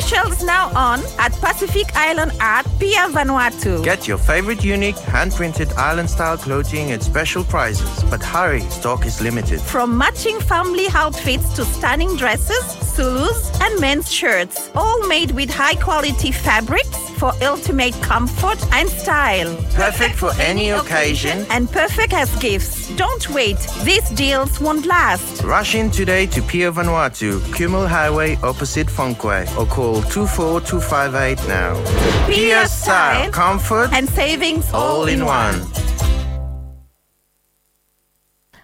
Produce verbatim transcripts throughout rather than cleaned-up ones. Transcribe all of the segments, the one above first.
Shells now on at Pacific Island Art, Pier Vanuatu. Get your favorite unique hand-printed island-style clothing at special prices, but hurry, stock is limited. From matching family outfits to stunning dresses, Zulus, and men's shirts, all made with high-quality fabrics for ultimate comfort and style. Perfect for any occasion and perfect as gifts. Don't wait, these deals won't last. Rush in today to Pier Vanuatu, Kumul Highway, opposite Funquay, or call two four two five eight now. Pier style, comfort, and savings all in one.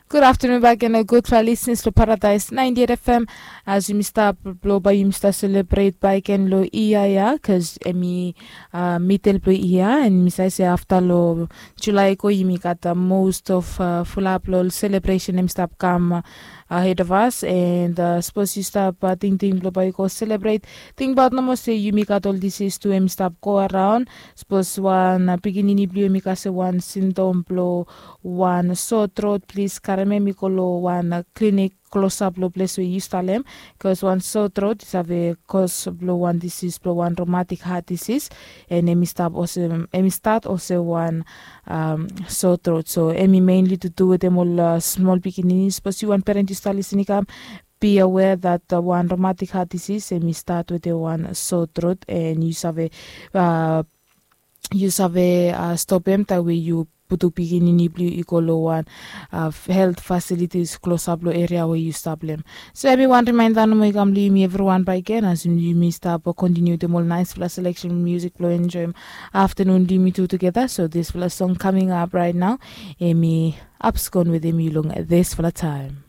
Gud aftanun bak gen, gudfala lisnis long Paradise ninety-eight F M. As yumi stap, blong bae yumi stap selebret bak gen long yia ya, bikos hemi midel blong yia, and mi save se afta long Julae i go yumi gat most of fulap long selebresen hemi stap kam ahead of us. And sapos yu stap tingting blong bae yu go selebret, tingbaot nomo se yumi gat ol disis tu hemi stap go araon. Sapos wan pikinini blong yu hemi kasem wan sindom blong wan sore throat, plis karem hem i go long wan klinik klosap long ples we yu stap long hem. Bikos wan sore throat i save kos blong wan disis blong wan rheumatic heart disease, and hemi stap olsem, hemi stat olsem wan sore throat. So hemi mainly to do wetem ol smol pikinini. Sapos yu wan peren yu stap lisin i kam, be aware that wan rheumatic heart disease hemi stat wetem wan sore throat, and yu save yu save stop hem taem we yu putum pikinini blong yu i go long wan health facilities klosap long eria we yu stap long hem. So hemi wan rimaenda nomo i kam long yumi evriwan bak gen, as yumi stap kontiniu wetem ol naesfala seleksen musik blong enjoem aftanun blong yumi tu tugeta. So disfala song kaming ap raet nao, hemi Abscond wetem yu long disfala taem.